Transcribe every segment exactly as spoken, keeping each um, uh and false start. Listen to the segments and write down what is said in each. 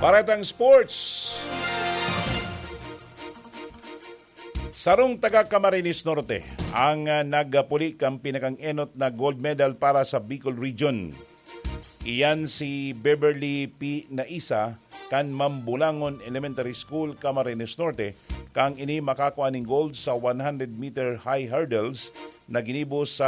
Baretang Sports. Sarong taga Camarines Norte ang, ah, nagpuli kan pinakang-enot na gold medal para sa Bicol Region. Iyan si Beverly P. Naisa kan Mambulangon Elementary School, Camarines Norte, kan ini makakua nin gold sa one hundred meter high hurdles na ginibo sa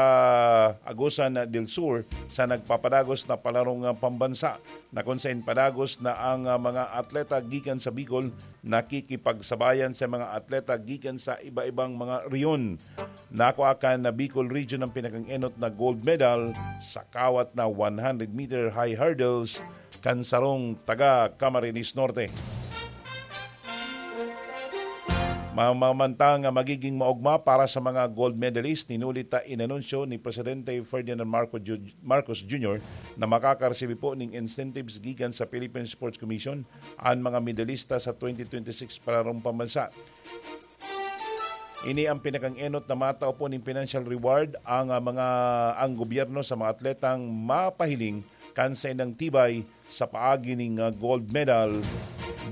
Agusan del Sur sa nagpapadagos na palarong, ah, pambansa, na kun saen padagos na ang, ah, mga atleta gikan sa Bicol nakikipagsabayan sa mga atleta gikan sa iba-ibang mga rehiyon. Nakua kan Bicol Region ang pinakang-enot na gold medal sa kawat na one hundred meter high hurdles kan sarong taga Camarines Norte. Mamamantang magiging maogma para sa mga gold medalist, hinulit ta inanunsyo ni Presidente Ferdinand Marco Ju-, Marcos Junior na makakaresibi po ning incentives gikan sa Philippine Sports Commission an mga medalista sa twenty twenty-six Palarong Pambansa. Ini ang pinakang-enot na matao po ning financial reward ang, ah, mga, ang gobyerno sa mga atletang mapahiling kan saindang tibay sa paagi ning, ah, gold medal,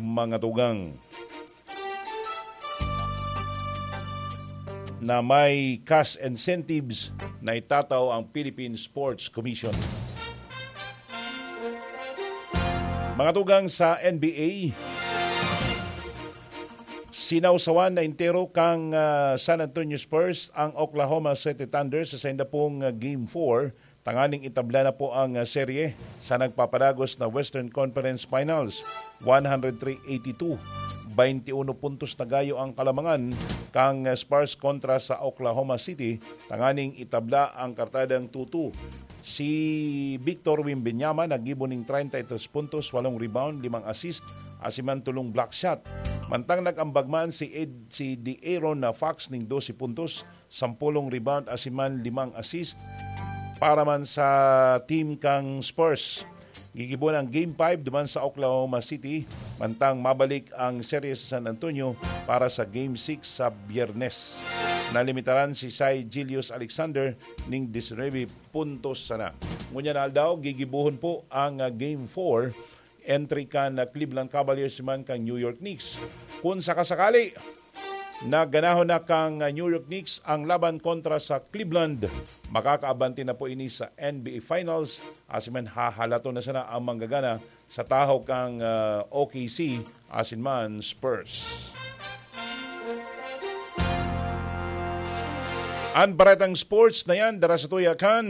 mga tugang. Na may cash incentives na itatao ang Philippine Sports Commission. Mga tugang sa N B A, sinawsawan na entero kan, ah, San Antonio Spurs ang Oklahoma City Thunder sa sainda pong, ah, Game four, tanganing itabla na po ang, ah, serye sa nagpapadagos na Western Conference Finals, one hundred three eighty-two. Bainti uno puntos na gayo ang kalamangan kan, ah, Spurs kontra sa Oklahoma City, tanganing itabla ang kartadang two two. Si Victor Wembanyama naggibo ning treinta y tres puntos, walong rebound, limang assist, asin man tolong block shot. Mantang nag-ambag man si Ed, si De'Aaron Fox ning dose puntos, sampolong rebound, asin man limang assist para man sa team kang Spurs. Gigibo ang Game five duman sa Oklahoma City, mantang mabalik ang serye sa San Antonio para sa Game six sa Biyernes. Nalimitaran si Shai Gilgeous-Alexander ning disinuyebe puntos sana. Ngunyan na aldaw, gigibohon po ang, ah, Game four entry kan, ah, Cleveland Cavaliers man kan New York Knicks. Kun sakasakali na ganahon na kan, ah, New York Knicks ang laban kontra sa Cleveland, makakaabante na po ini sa N B A Finals, asin man hahalaton na sana ang manggagana sa tahaw kan, ah, O K C asin man Spurs. An baretang sports na yan, dara sa tuya kan